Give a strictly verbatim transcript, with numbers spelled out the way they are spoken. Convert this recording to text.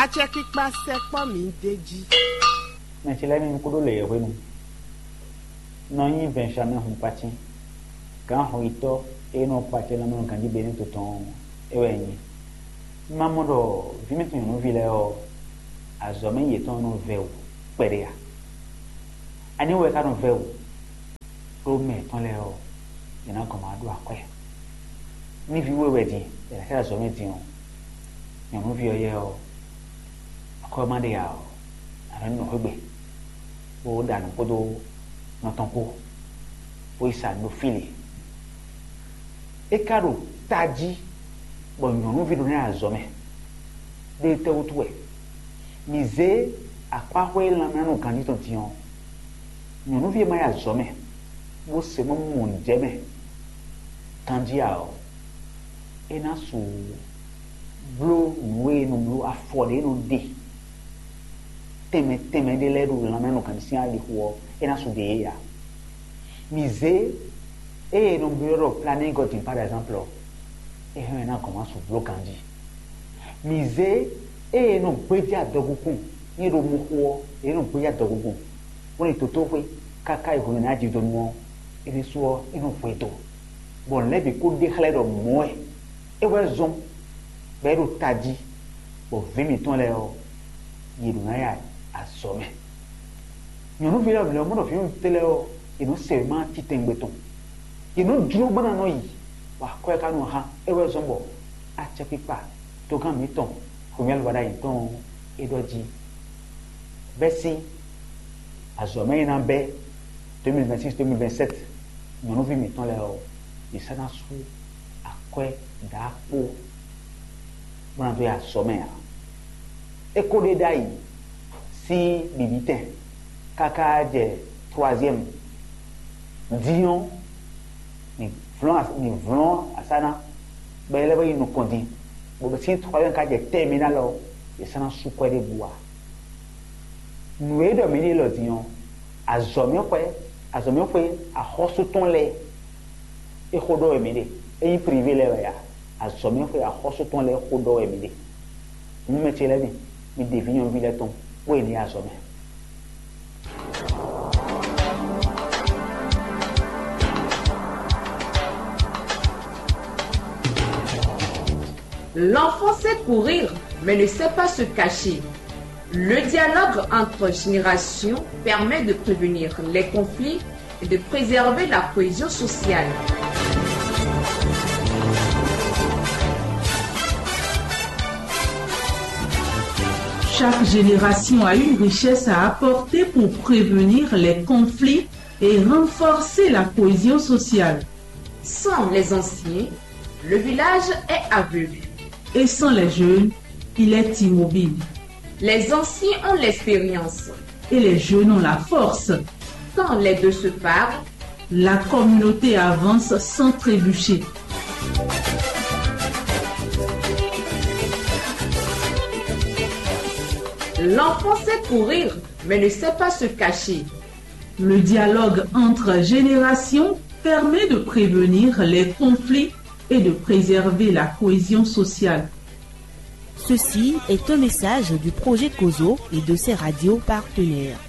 Acɛkpikpa sɛkpɔ́ mǐ d'é jí. Mɛ ce lɛ́ɛ mi kúdó lě e hwenu. Nɔ nyí Benjamin Hunkpatín, gǎn hɔnyitɔ́ e nɔ kpacɛ lanmɛ ganjí Benɛ́to tɔn ɔ́, é wɛ nyí. Un ma mɔ ɖɔ vǐ mǐtɔn nyɔ̌nuví lɛ́ɛ ɔ́, azɔ̌ mɛ yětɔn nɔ vɛ́ wǔ kpɛɖé a? Ani wɛ ka nɔ vɛ́ wǔ? Ɖó mɛ yětɔn lɛ́ɛ ɔ́, yě ná gɔn ma ɖó akwɛ́. Ní vǐ we wɛ din, è nǎ sɛ́ azɔ̌ mɛ din ɔ́, nyɔ̌nuví ɔ́ yɛ ɔ́, akwɛ́ ɔ́ ma ɖe ǎ ɔ́, a nǎ nɔ xwé gbe, bó ɖa nǔ kpódó nɔ tɔn kpó, bó yi sa nǔ ɖo fí lě. É ka ɖo tají bɔ nyɔ̌nuví ɖó ná yi azɔ̌ mɛ. Ɖó étɛ́ wútu wɛ? Mǐ zé akpáxwé lanmɛnánɔ ganjí tɔn din ɔ́, nyɔ̌nuví e ma yi azɔ̌ mɛ, bó se mɔ mɔ nǔ jɛ mɛ ganjí ǎ ɔ́, é ná su bló nǔ e è nɔ bló, afɔ ɖě e nɔ ɖe tɛnmɛ tɛnmɛ ɖé lɛ́ɛ ɖo lanmɛnánɔ ganjí sín alixo ɔ́, é ná su ɖe yě ǎ. Mǐ zé ée è nɔ byɔ́ ɖɔ planning God in par exemple ɔ́, é hɛn ná gɔn wá su bló ganjí. Mǐ zé ée è nɔ gbéjé adɔgúnkún, nyí ɖo mɔxo ɔ́, è nɔ gbéjé adɔgúnkún, bó ní tótóxwé káká yi hwenu ná jidonu ɔ́, é ɖésú ɔ́, é nɔ hwe do, bɔ nǔ lɛ́ɛ bǐ kó ɖe xlɛ́ ɖɔ mɔ̌ wɛ é wɛ zɔ́n, bɔ é ɖo tají, bɔ vǐ mǐtɔn lɛ́ɛ ɔ́, yě ɖǒ ná ya azɔ̌ mɛ. Nyɔ̌nuví lɛ́ɛ lɛ́ɛ mɔ ɖɔ vǐ nyɔ̌nu tɛ́ lɛ́ɛ ɔ́, yě nɔ se wěma titɛngbe tɔn. Yě nɔ jló bó ná nɔ yi, bɔ akwɛ́ ka nɔ hán é wɛ zɔ́n bɔ acɛkpikpa togán mǐtɔn Xomɛ́lu Wadayi tɔn ɔ́, é ɖɔ jí bɛ́ sín azɔ̌ mɛ e ná bɛ́ deux mille vingt-six, deux mille vingt-sept, nyɔ̌nuví mǐtɔn lɛ́ɛ ɔ́, yě sɔ́ ná sú akwɛ́ ɖǎkpó bó ná dó yi azɔ̌ mɛ ǎ. É ko ɖe ɖ'ayǐ sín bǐbítɛn káká jɛ troisième. Din ɔ́, mǐ vlɔ́n as- mǐ vlɔ́n asá ná, bɔ é lɛ́ vɔ yi nukɔn din, bɔ sín troisième ka jɛ terminale ɔ́, è sɔ́ ná sú kwɛ́ ɖěbǔ ǎ. Nǔ e ɖɔ mǐ ɖe lɔ din ɔ́, azɔ̌mɛxwé, azɔ̌mɛxwé axɔ́sú tɔn lɛ́ɛ é xó ɖɔ wɛ mǐ ɖe. É nyí privé lɛ́ɛ wɛ a? Azɔ̌mɛxwé axɔ́sú tɔn lɛ́ɛ xó ɖɔ wɛ mǐ ɖe. Nǔ mɛ ce lɛ́ɛ mi, mi ɖe vǐ nyɔ̌nuví lɛ́ɛ tɔn, bó yě ní yi azɔ̌ mɛ. L'enfant sait courir, mais ne sait pas se cacher. Le dialogue entre générations permet de prévenir les conflits et de préserver la cohésion sociale. Chaque génération a une richesse à apporter pour prévenir les conflits et renforcer la cohésion sociale. Sans les anciens, le village est aveugle. Et sans les jeunes, il est immobile. Les anciens ont l'expérience. Et les jeunes ont la force. Quand les deux se parlent, la communauté avance sans trébucher. L'enfant sait courir, mais ne sait pas se cacher. Le dialogue entre générations permet de prévenir les conflits et de préserver la cohésion sociale. Ceci est un message du projet Kozo et de ses radios partenaires.